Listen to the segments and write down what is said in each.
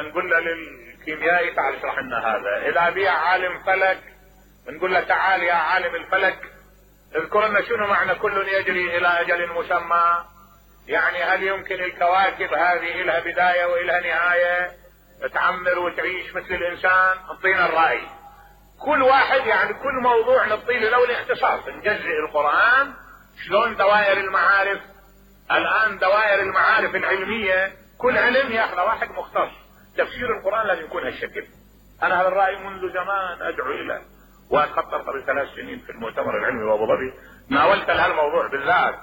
نقول له للكيميائي تعال اشرح لنا هذا. اذا بيها عالم فلك نقول له تعال يا عالم الفلك اذكر لنا شنو معنى كل يجري الى اجل مسمى. يعني هل يمكن الكواكب هذه لها بداية والها نهاية تعمر وتعيش مثل الانسان؟ اعطينا الرأي. كل واحد يعني كل موضوع نعطي له الاختصاص. نجزئ القرآن شلون دوائر المعارف. الان دوائر المعارف العلمية كل علم ياخذ واحد مختص. تفسير القرآن لازم يكون هالشكل. انا هذا الرأي منذ زمان ادعو اليه، واتخطر قبل 3 سنين في المؤتمر العلمي بابو ظبي ناولت هالموضوع بالذات.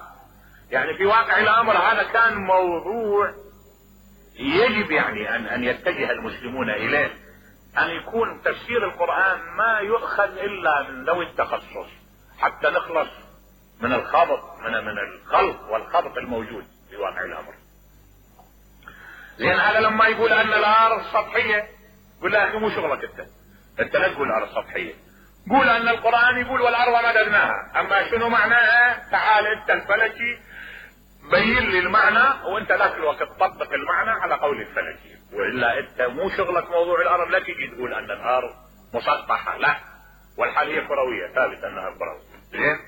يعني في واقع الامر هذا كان موضوع يجب يعني ان يتجه المسلمون اليه، ان يكون تفسير القرآن ما يؤخذ الا من ذوي التخصص حتى نخلص من الخبط من الخلط والخبط الموجود في واقع الامر. لان هذا لما يقول ان الارض سطحية قول له يا اخي مو شغلك انت لا تقول الارض سطحية. قول ان القرآن يقول والارض مددناها، اما شنو معناها تعال انت الفلكي بين لي المعنى وانت ذاك الوقت طبق المعنى على قول الفلكي، والا انت مو شغلك موضوع الارض. لا تجي تقول ان الارض مسطحة، لا، والحال هي كروية، ثابت انها كروية. زين؟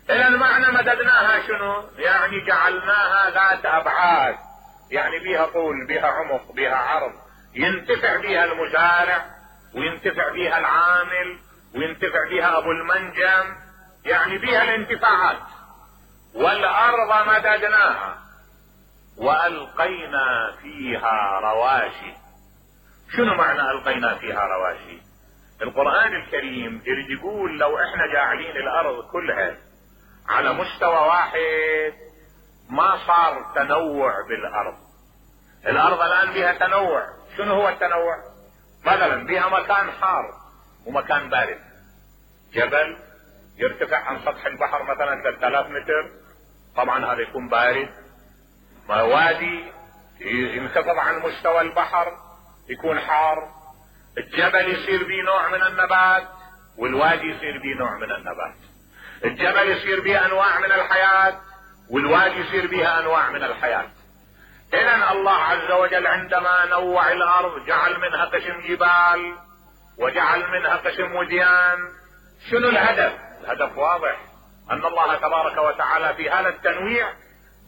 الى المعنى مددناها شنو؟ يعني جعلناها ذات ابعاد، يعني بيها طول بيها عمق بيها عرض، ينتفع بيها المزارع وينتفع بيها العامل وينتفع بيها ابو المنجم، يعني بيها الانتفاعات. والارض مددناها والقينا فيها رواسي. شنو معنى القينا فيها رواسي؟ القرآن الكريم يقول لو احنا جاعلين الارض كلها على مستوى واحد ما صار تنوع بالارض. الارض الان بها تنوع. شنو هو التنوع؟ مثلا بها مكان حار ومكان بارد. جبل يرتفع عن سطح البحر مثلا 3000 متر، طبعا هذا يكون بارد. وادي ينخفض عن مستوى البحر يكون حار. الجبل يصير به نوع من النبات والوادي يصير به نوع من النبات. الجبل يصير به انواع من الحياة والوادي يصير بها انواع من الحياة. اذا الله عز وجل عندما نوع الارض جعل منها قسم جبال وجعل منها قسم وديان. شنو الهدف؟ الهدف واضح، ان الله تبارك وتعالى في هذا التنويع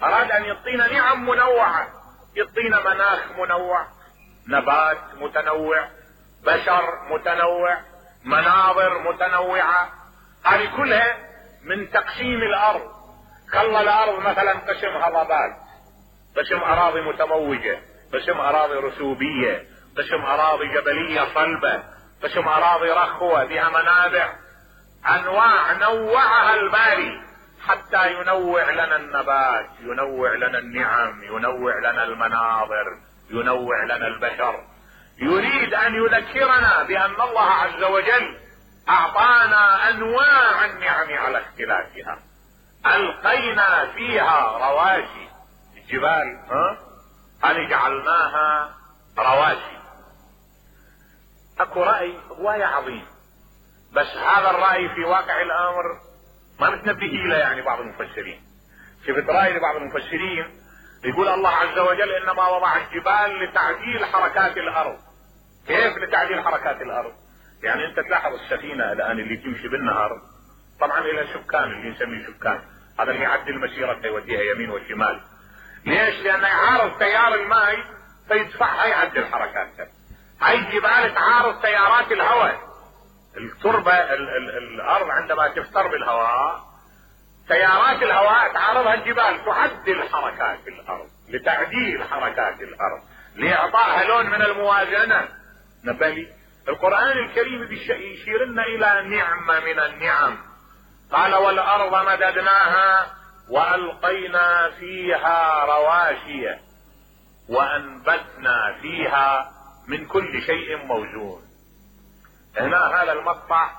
اراد ان يعطينا نعم منوعة، يعطينا مناخ منوع، نبات متنوع، بشر متنوع، مناظر متنوعة. هذه كلها من تقسيم الارض. خلى الارض مثلا قسم هضبات، قسم اراضي متموجة، قسم اراضي رسوبية، قسم اراضي جبلية صلبة، قسم اراضي رخوة بها منابع. انواع نوعها الباري حتى ينوع لنا النبات، ينوع لنا النعم، ينوع لنا المناظر، ينوع لنا البشر. يريد ان يذكرنا بان الله عز وجل اعطانا انواع النعم على اختلافها. القينا فيها رواسي. الجبال هذه جعلناها رواسي. اكو رأي هواية عظيم، بس هذا الرأي في واقع الامر ما متنبه له يعني بعض المفسرين. شفت رأي لبعض المفسرين يقول الله عز وجل انما وضع الجبال لتعديل حركات الارض. كيف لتعديل حركات الارض؟ يعني انت تلاحظ السفينة الان اللي تمشي بالنهر طبعا الى سكان اللي نسميه سكان، هذا اللي يعدل مسيرته يوديها يمين وشمال. ليش؟ لانه يعارض تيار الماء فيدفعها يعدل حركاتها. هاي الجبال تعارض تيارات الهواء. التربة الارض عندما تفتر بالهواء تيارات الهواء تعارضها الجبال، تعدل حركات الارض لتعديل حركات الارض لاعطائها لون من الموازنة. نبالي القرآن الكريم يشير لنا الى نعمة من النعم. قال والارض مددناها والقينا فيها رواسي وانبتنا فيها من كل شيء موزون. هنا هذا المقطع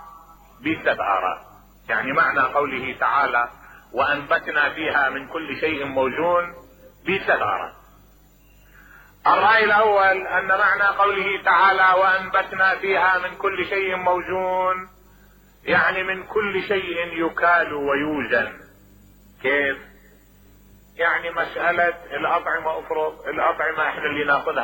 ب3 آراء. يعني معنى قوله تعالى وانبتنا فيها من كل شيء موزون ب3 آراء. الرأي الاول ان معنى قوله تعالى وانبتنا فيها من كل شيء موزون يعني من كل شيء يكال ويوزن. كيف؟ يعني مسألة الأطعمة افرض الأطعمة احنا اللي ناخذها